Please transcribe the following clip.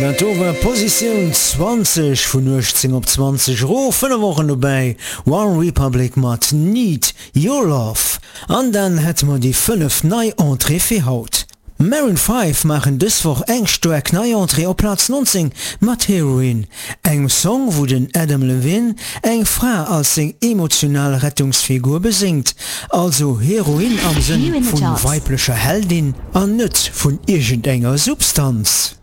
Dat do war Positioun 20, vun 18 op 20 erof, 5 Wochen dobäi, One Republic mat Need Your Love. An dann hätte mer déi 5 nei Entrée fir haut. Maroon 5 maachen dës Woch eng staark nei Entrée op Plaz 19 mat Heroine, engem Song wou den Adam Levine eng Fra als seng emotional Rettungsfigur beséngt, also Heroine am Sënn vu weiblecher Heldin an net vun iergendenger Substanz.